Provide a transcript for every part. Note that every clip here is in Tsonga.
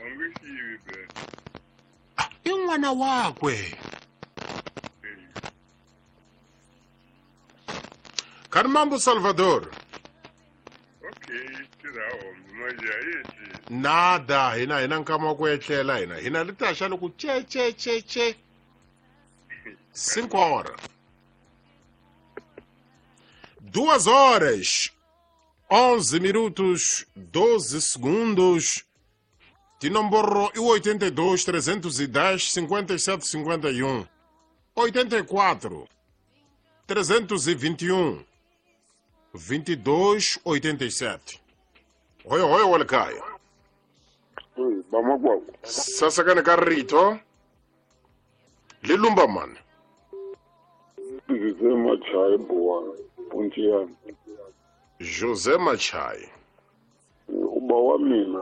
A nge xivi be. I n'wana wakwe. Khani mambo Salvador. Okay, tirha hombe manje a yetli. Nada, hina hina nkama wa ku etlela hina. Hina li ta xa loko che che che che. 5 horas. 2 horas 11 minutos 12 segundos. Tinomboro i 82 310 57 51. 84 321 22 87. Hoyo hoyo wa le kaya. Oi, bamakwavo. Sasakane ka rito. Le lumba man. José Machai Boa, Pontiano. José Machai. Uba wa mina.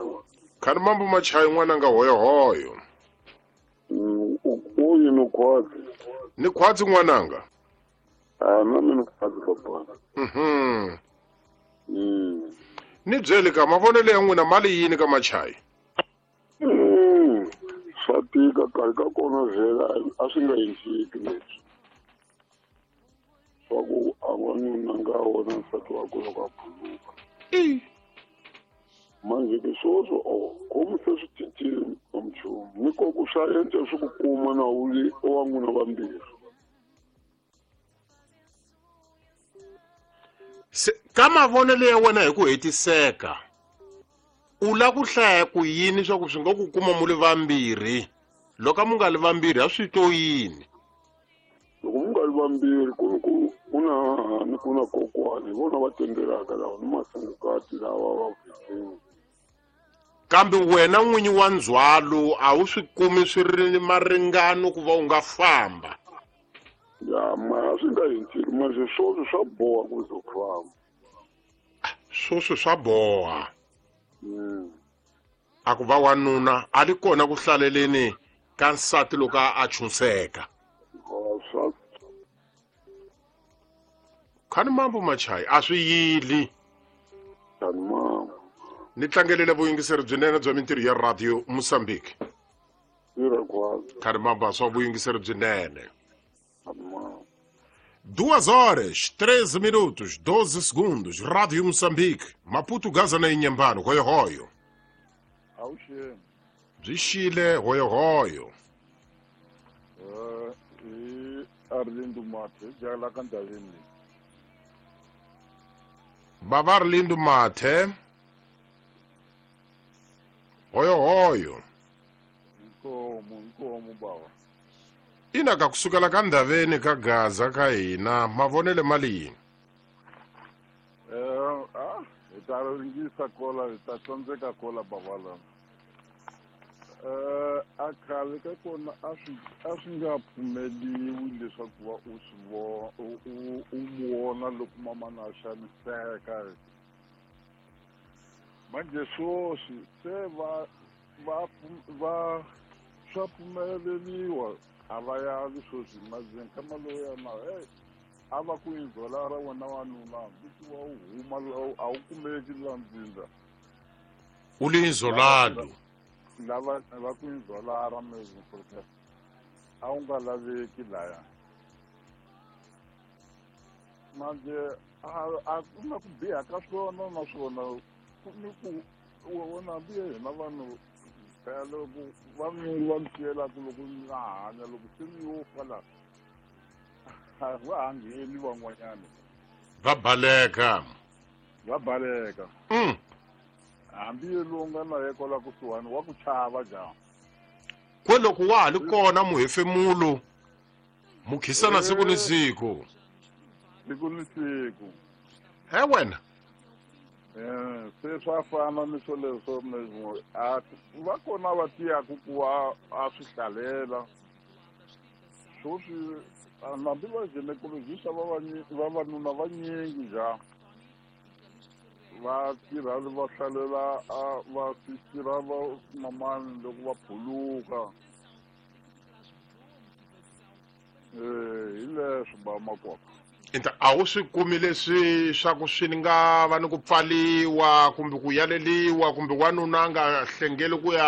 Khani mambo Machai n'wananga hoyo hoyo. Uyu ni khwatsi. Ni khwatsi n'wananga. Ah, na mina khwatsi papa. Ni byele ka mavonelo ya n'wina mali yini ka Machai? Swa tika karhi ka kona vhela a swi nga endleki leswi. Swa ku a n'wanuna nga wona nsati wakwe loko a phuluka. Manje ke sweswo o komu se swi cincile nchumu ni ko ku swa endla swi ku kuma na u ri wa n'wina vambirhi. Ka mavonelo ya wena hi ku hetiseka u la ku hlaya ku yini swa ku swi nga ku kuma mu li vambirhi loko mu nga li vambirhi a swi to yini? Loko mu nga li vambirhi ku ku ku na hahani ku na kokwani hi vona va tendelaka lava ni masungukati lava va vhikini. Kambe wena n'winyi wa ndzhwalo a wu swi kumi swi ri maringano ku va u nga famba. Ya mara swi nga endleki manje swoswi swa boha ku ze u famba. Swoswi swa boha. A ku va wanuna a li kona ku hlaleleni ka nsati loko a chunseka. Khani mambo Machai a swi yili. Ni tlangelele vuyingiseri byinene bya mintirho ya Radio Mozambique. Khani mambo swa vuyingiseri byinene. 2 horas 13 minutos 12 segundos. Rádio Moçambique, Maputo, Gaza na Inhambane. Hoyo hoyo. Byi xile hoyo hoyo. I Arlindo Mathe, jala ka Ndaveni. Baba Arlindo Mathe. Hoyo hoyo. Nkomo baba. Ina ka kusukela ka Ndaveni ka Gaza ka hina mavonele mali yini? Hi ta ringisa kola hi ta tsandzeka kola baba la. A khale ka kona a swi nga pfumeliwi leswaku va u swi u vona loko mamana a xaniseka. Manje sweswi se va swa pfumeleriwa a va yavi sweswi manje nkama lowu ya na a va ku inzola ra wena wanuna hambi wa u huma a wu kumeki la ndzinda. U li inzolalo. Lava va ku inzola ra mezi porque a wu nga laveki laya. Manje a ku na ku biha ka swona naswona ni ku wona hambi hina vanhu phela loko va va mi siyelaka loko mi nga hanya loko se mi yo fa la a va ha ngheni van'wanyana. Va baleka. Va baleka. Hambi lowu nga na ye kwala kusuhani wa ku chava njhani. Kwe loko wa ha li kona muhefemulo mukhisana siku ni siku. Siku ni siku. He wena. Se swa fana ni swoleswo a va kona va tiyaku ku a swi hlalela. Sweswi hambi va gynecologist vavanuna vanyingi njhani va tirha va hlalela va tirha va mamani loko va phuluka. Hi leswi ba makoka. Inta a wu swi kumi leswi swa ku swi nga va ni ku pfaliwa kumbe ku yaleliwa kumbe wanuna a nga hlengeli ku ya